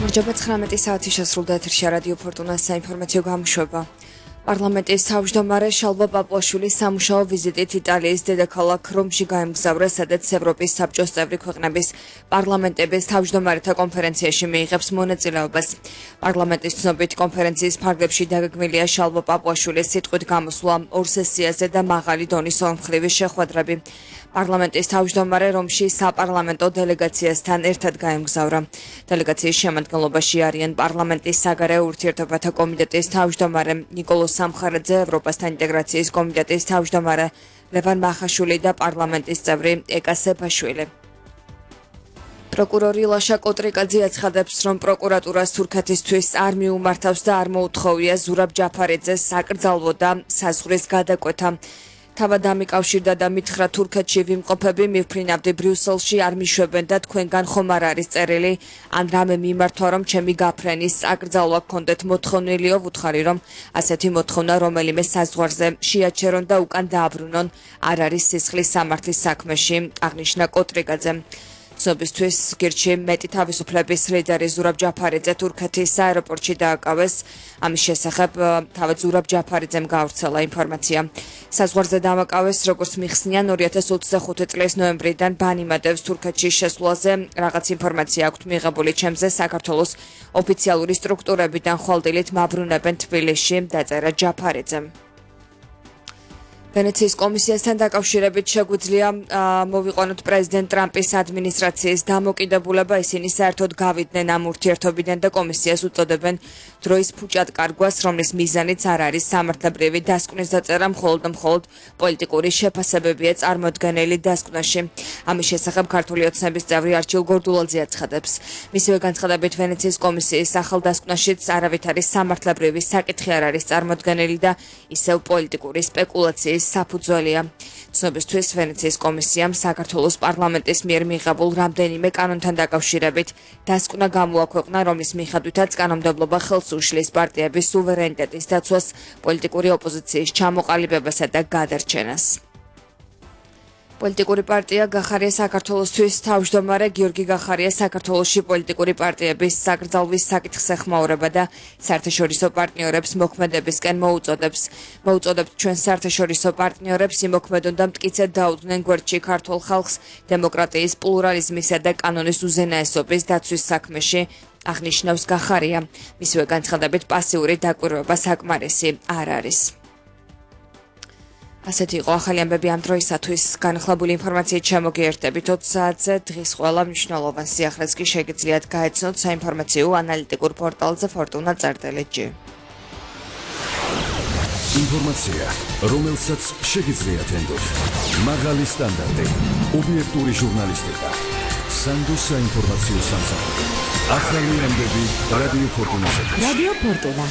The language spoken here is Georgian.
გამარჯობა 19 საათი შესრულდა ეთერში რადიო ფორტუნას საინფორმაციო გამოშვება. პარლამენტის თავმჯდომარე შალვა პაპუაშვილი სამუშაო ვიზიტით იტალიის დედაქალაქ რომში გაემგზავრა, სადაც ევროპის საბჭოს წევრი ქვეყნების პარლამენტების თავმჯდომარეთა კონფერენციაში მიიღებს მონაწილეობას. პარლამენტის ცნობით კონფერენციის ფარგლებში დაგეგმილია შალვა პაპუაშვილის სიტყვით გამოსვლა ორ სესიაზე და მაღალი დონის ორმხრივი შეხვედრები. პარლამენტის თავმჯდომარე რომში საპარლამენტო დელეგაციასთან ერთად გაემგზავრა. დელეგაციის შემადგენლობაში არიან პარლამენტის საგარეო ურთიერთობათა კომიტეტის თავმჯდომარე ნიკოლოს სამხარაძე, ევროპასთან ინტეგრაციის კომიტეტის თავმჯდომარე ლევან მახაშვილი და პარლამენტის წევრი ეკა სეფაშვილი. პროკურორი ლაშა კოტრიკაძე აცხადებს, რომ პროკურატურას თურქეთისთვის არ მიუმართავს და არ მოუთხოვია ზურაბ ჯაფარიძეს საკრძალვო და საზღვრის გადაკვეთა. თავად ამიკავშირდა და მითხრა თურქეთში ვიმყოფები მივფრინავდი ბრიუსელში არ მიშვებენ და თქვენგან ხომ არ არის წერილი ან რამე მიმართვა რომ ჩემი გაფრენის აკრძალვა გქონდეთ მოთხოვნილიო ვუთხარი რომ ასეთი მოთხოვნა რომელიმე საზღვარზე შეაჩერონ და უკან დააბრუნონ არ არის სისხლის სამართლის საქმეში აღნიშნა კოტრიკაძე. ცნობისთვის გირჩი მეტი თავისუფლების ლიდერი ზურაბ ჯაფარიძე თურქეთის აეროპორტში დააკავეს. ამის შესახებ თავად ზურაბ ჯაფარიძემ გაავრცელა ინფორმაცია. საზღვარზე დამაკავეს, როგორც მიხსნიან 2025 წლის ნოემბრიდან ბანიმადევს თურქეთში შესვლაზე. რაღაც ინფორმაცია აქვთ მიღებული ჩემზე საქართველოს ოფიციალური სტრუქტურებიდან ხვალდილით მაბრუნებენ თბილისში, დაწერა ჯაფარიძემ. ვენეციის კომისიასთან დაკავშირებით შეგვიძლია მოვიყვანოთ პრეზიდენტ ტრამპის ადმინისტრაციის დამოკიდებულება, ისინი საერთოდ გავიდნენ ამ ურთიერთობიდან და კომისიას უწოდებენ დროის ფუჭად კარგვას, რომლის მიზანიც არ არის სამართლებრივი დასკვნის დაწერა, მხოლოდ პოლიტიკური შეფასებებია წარმოდგენილი დასკვნაში. ამის შესახებ ქართული ოცნების წევრი არჩილ გორდულაძე აცხადებს. მისივე განცხადებით ვენეციის კომისიის ახალ დასკვნაშიც არავით არის სამართლებრივი საკითხი არ არის წარმოდგენილი და ისევ პოლიტიკური სპეკულაციის საფუძველია. ცნობისთვის ვენეციის კომისიამ საქართველოს პარლამენტის მიერ მიღებულ რამდენიმე კანონთან დაკავშირებით დასკვნა გამოაქვეყნა, რომლის მიხედვითაც კანონმდებლობა ხელს უშლის პარტიების სუვერენიტეტის დაცვას, პოლიტიკური ოპოზიციის ჩამოყალიბებასა და გადარჩენას. პოლიტიკური პარტია გახარია საქართველოსთვის თავმჯდომარე გიორგი გახარია საქართველოში პოლიტიკური პარტიების საკრძალვის საკითხს ეხმაურება და საერთაშორისო პარტნიორებს მოქმედებისკენ მოუწოდებთ ჩვენ საერთაშორისო პარტნიორებს იმოქმედონ და მტკიცედ დაუდგნენ გვერდში ქართულ ხალხს დემოკრატიის პლურალიზმისა და კანონის უზენაესობის დაცვის საქმეში, აღნიშნავს გახარია. მისივე განცხადებით პასიური დაკვირვება საკმარისი არ არის. ასეთი იყო ახალი ამბები ამ დროისათვის. განახლებული ინფორმაციით შემოგიერთებით 20 საათზე. დღის ყველა მნიშვნელოვან სიახლეს კი შეგიძლიათ გაეცნოთ საინფორმაციო ანალიტიკურ პორტალზე fortuna.gr. ინფორმაცია, რომელსაც შეგიძლიათ ენდოთ. მაღალი სტანდარტი, ობიექტური ჟურნალისტიკა. სანდოს საინფორმაციო სამსახური. ახალი ამბები რადიო ფორტუნაზე. რადიო ფორტუნა.